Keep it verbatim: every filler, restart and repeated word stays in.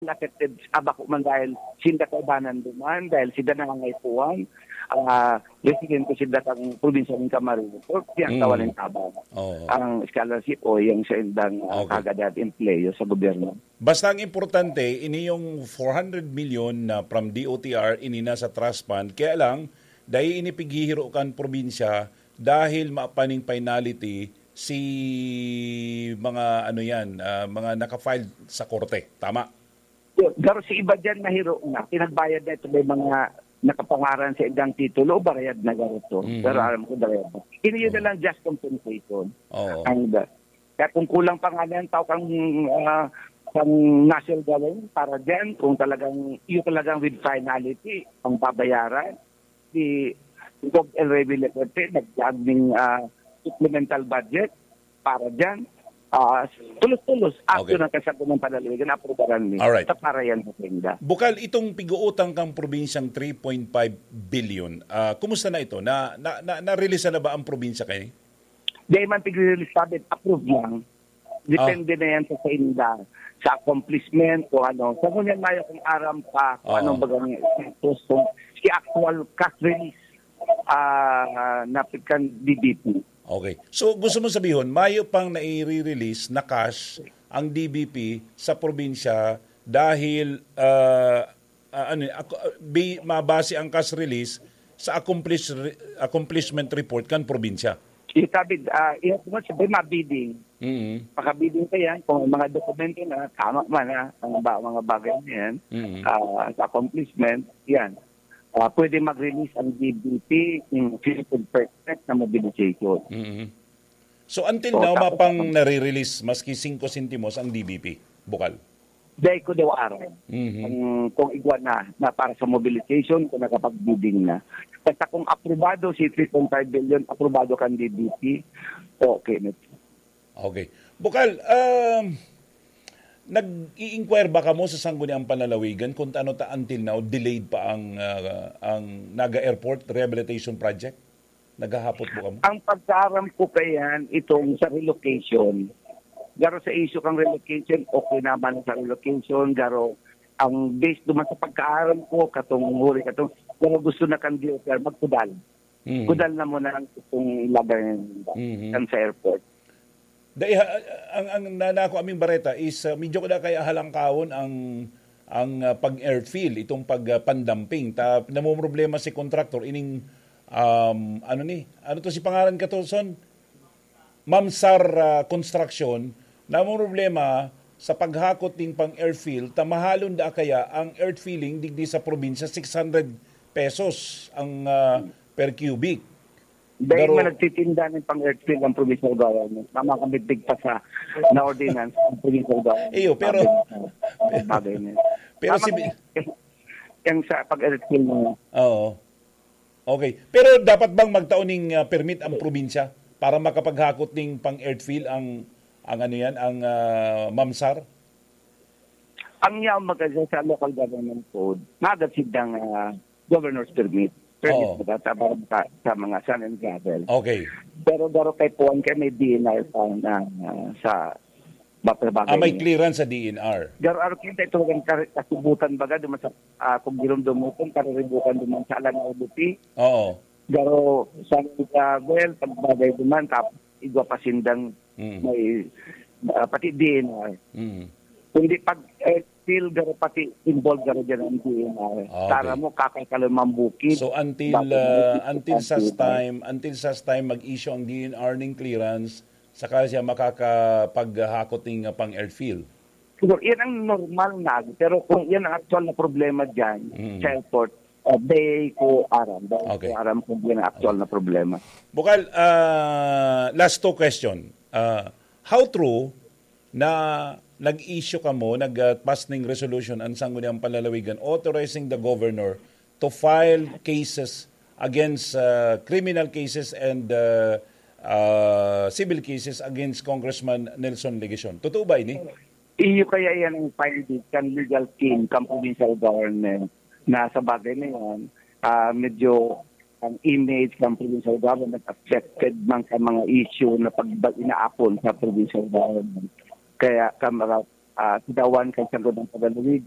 affected, ah, bako man dahil sinda kaibanan duman, dahil sinda nangangaipuhan, ah, residente sinda kan probinsya nin Camarines Sur, diyan sa Mm. Walintabang. Oo. Ang scholarship o yung sa indang, ah, Okay. kagad at empleyo sa gobyerno. Basta ang importante, ini yung four hundred million na from D O T R, ini na sa trust fund. Kaya lang, dai ini pighihiro kan probinsya dahil mapaning finality si mga ano yan, ah, mga naka-file sa korte. Tama? Pero si iba dyan, nahiro na. Pinagbayad na ito, may mga nakapangaran sa indang titulo, o barayad na garo to. Mhm. Pero alam ko, barayad na. Ini yun na Oo. lang, just compensation. Oo. Ang, kaya kung kulang pa nga yan, tao kang, ah, kang national gawin para dyan, kung talagang, yun talagang with finality, ang babayaran, si Gov El Rey Villafuerte, nagdaging, ah, supplemental budget para dyan. Ah, tulos-tulos, after Okay. ng kasagutan ng panlalawigan, aprubaran ni. Alright. Sa para yan sa tinda. Bukal, itong pig-uutang kang probinsyang three point five billion, ah, kumusta na ito? Na, na, na, na-release na ba ang probinsya kayo? Di man tigre-release sabi, approve lang. Depende Ah. na yan sa, sa inda, sa accomplishment, kung ano. Sa ngunyan, mayo kung aram pa, kung Oo. anong bagang status, kung si actual cash release, ah, na kan D B P. Okay. So, gusto mo sabihon, mayo pang naire-release na cash ang D B P sa probinsya dahil, ah, ah, ano, ako, ah, bi-, mabase ang cash release sa accomplish-, re-, accomplishment report kan probinsya. Yung sabi, ah, yung kung sabi, mabidding. Mm. Makabidding ka yan, kung may mga dokumento na, tama man, ah, ang ba-, mga bagay na yan, Mm. ah, sa accomplishment, yan. Ah, pwede mag-release ang D B P in fifty percent na mobilization. Mm. So, until So, now, tapos mapang ang nare-release maski singko sentimos ang D B P, Bukal? Dai ko daw aram. Mhm. Kung, kung igwa na, na para sa mobilization, kung nakapag-bidding na. Basta kung aprobado si three point five billion, aprobado kan D B P, okay na. Okay. Bukal, um, nag-i-inquire ba kamo sa Sangguniang Panlalawigan kung ano ta until now delayed pa ang, ah, ang Naga Airport Rehabilitation Project? Naghahapot po kamo? Ang pagkaaram ko kayan, itong sa relocation, garo sa issue kang relocation, okay naman sa relocation, garo ang base duman sa pagkaaram ko, katong huri, katong, garo gusto na kan D O T R, magkudal. Mhm. Kudal na muna ang itong ilagay Mhm. kan sa airport. Dai, ha, ang, ang na-, nako aming bareta is, ah, medyo kada kaya halangkawon ang, ang, ah, pag-airfill, itong pag, ah, pandamping. Ta, namomroblema si contractor, ining, um, ano ni? Ano to si pangaran ka to, Son? Mamsar, ah, Construction, namomroblema sa paghakot ning pang-airfill, ta mahalon da kaya ang earth filling digdi sa probinsya, six hundred pesos ang, ah, per cubic. Dahil Pero man nagtitinda ng pang-earthfill ang provincial government, tama kami tigpa sa na ordinance ang provincial government. Iyo, pero Sabi na, bagay na yun. Pero Tama si na yun. Yung sa pag-earthfill mo. Oo. Okay. Pero dapat bang magtao ning, ah, permit ang probinsya para makapaghakot ning pang-earthfill ang, ang ano yan, ang, ah, mamsar? Ang yaon magkasya sa local government code, magad sindang, ah, governor's permit. Permit Oo. Sa, sa, sa mga sand and gravel. Okay. Pero garo kay Puan kay may D N R pa na, ah, sa bapel bagay Ah, may niya. Clearance sa D N R. Garo aro kita ito ang kar-, kasubutan baga duman sa, ah, kung giromdom mo kung kariribukan duman sa Alan Audupi. Oo. Garo sa, ah, well, pagbagay duman, tapos igwa pa sindang Mm. may, ah, pati D N R. Mm. Kundi pag, eh, still, garo pati involved garo dyan ang D N R. Ah, okay. Tara mo, kakay ka lang mambukid. So, until, Bakit ah, hindi until such pagkakita? Time, until such time mag-issue ang D N R ning clearance, saka siya makakapaghakot ning, ah, pang-airfill. Siguro, yan ang normal na. Pero kung yan ang actual na problema dyan, Mm. sa airport, ah, di ko aram. Di Okay. ko aram kung yan ang actual na problema. Bukal, ah, last two question. Ah, how true na nag-issue kamo, nag-, ah, pass ning resolution ang Sangguniang Panlalawigan authorizing the governor to file cases against, ah, criminal cases and, ah, ah, civil cases against Congressman Nelson Legacion? Totoo ba ini? Iyo kaya yan ang finding kan legal team, kan provincial government, na sa bagay na yan, ah, medyo ang image ng provincial government affected man sa mga issue na pag-, inaapon sa provincial government. Kaya kamara-, ah, sidawan kan Sangguniang Panlalawigan,